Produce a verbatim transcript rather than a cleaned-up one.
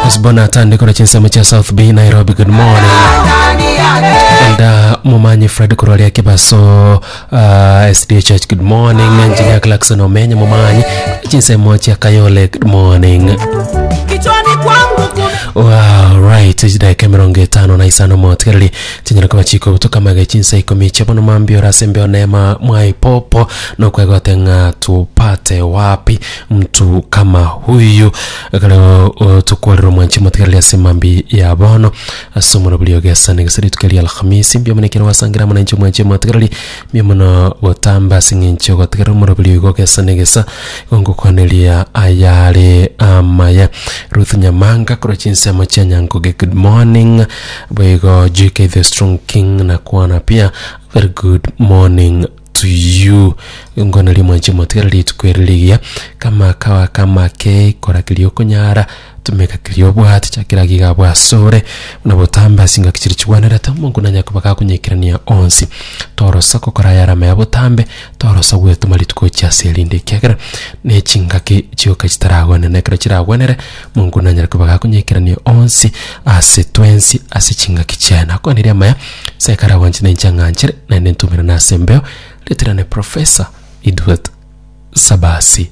Osborne Atande korwa chinsemo chia South B Nairobi, good morning. Elda Momanyi Fred korwa ria Kibaso uh, S D A Church, good morning. Engineer Clarkson Omenye Momanyi chinsemo chia Kayole, good morning. Kichwani kwangu kuna Wow, right, chidakika emerongo etano na isano motigereri chinyara koba chikobutoka mage chinsa ikomi chiabono mambia orase mbeo neema mwaipopo nokwegote ng'a tupate wapi mtu kama huyu ekero tukwarira omwanchi motigereri ase mambi ya bono ase omoro buri ogesana gese rituko ria Alhamisi mbia mono ekero wasangira amo nainche omwanchi motigereri mbia mono gotamba ase eng'encho ogotigerera omoro buri oigo ogesana egesa gongokwaneria ayare amaya. Ruth Nyamanga korwa chinsemo chia Nyankoge, good morning. Boigo J K the Strong King nakwana pia, very good morning to you. Ngoneria mwanchi motigera rituko eri rigiya kama kawa kama ke kora kiria okonyara tumeka kiria obwate chakira giga bwasore buna botamba ase ngaki chiri chigwenerete omonto nanya koba gakonyekerania onsi torosa gokora yarama ya botambe torosa gwetoma rituko chiase erinde ekiagera na chingaki chioka chitaragwenera ekero chiragwenere mongo nanyara koba gakonyekerania onsi ase twensi ase chingaki chiaye nakwaneria amaya sekara gwanche na inche ng'anchere naende ntumerane ase embeo reterane Professor Edward Sabasi.